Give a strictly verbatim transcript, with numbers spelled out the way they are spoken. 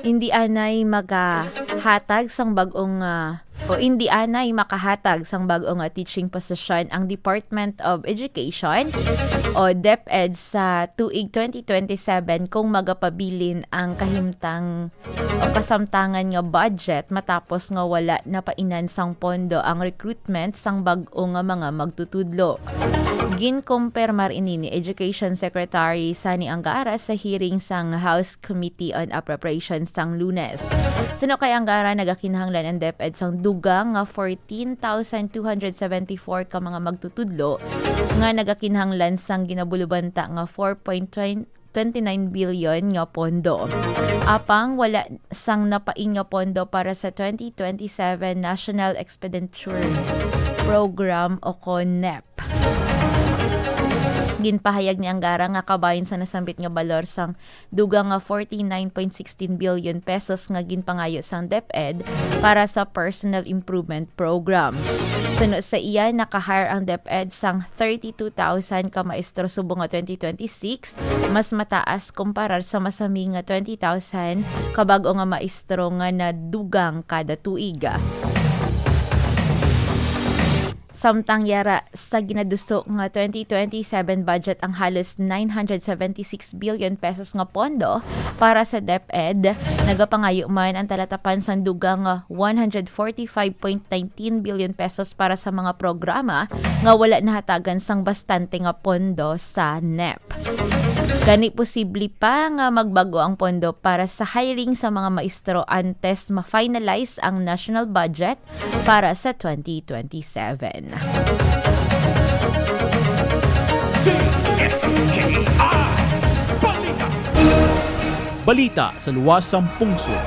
Indi anay makahatag sang bag-ong, ah, o indi anay makahatag sang bag-ong, ah, teaching position ang Department of Education o DepEd sa tuig twenty twenty-seven kung magapabilin ang kahimtang o kasamtangan nga budget matapos nga wala napainan sang pondo ang recruitment sang bag-o nga mga magtutudlo. Ginkumpirmar ini ni Education Secretary Sonny Angara sa hearing sang House Committee on Appropriations sang Lunes. Suno kay Angara, nagakinahanglan ang DepEd sang dugang nga fourteen thousand two hundred seventy-four ka mga magtutudlo nga nagakinahanglan sang ginabulubanta nga four point twenty-nine billion nga pondo. Apang wala sang napain nga pondo para sa twenty twenty-seven National Expenditure Program o kon NEP. Ginpahayag ni Angara nga kabahin sa nasambit nga balor sang dugang nga forty-nine point sixteen billion pesos nga ginpangayo sang DepEd para sa Personal Improvement Program. Suno sa iya, naka-hire ang DepEd sang thirty-two thousand ka maestro subong nga twenty twenty-six, mas mataas kumparar sa masami nga twenty thousand ka bag-o nga maestro nga nadugang kada tuig. Samtang yara sa ginaduso nga twenty twenty-seven budget ang halos nine hundred seventy-six billion pesos nga pondo para sa DepEd, nagapangayo man ang talatapan sang dugang nga one hundred forty-five point nineteen billion pesos para sa mga programa nga wala nahatagan sang bastante nga pondo sa NEP. Gani, posible pa nga magbag-o ang pondo para sa hiring sa mga maestro antes ma-finalize ang national budget para sa twenty twenty-seven. Balita sa luwas sang pungsod.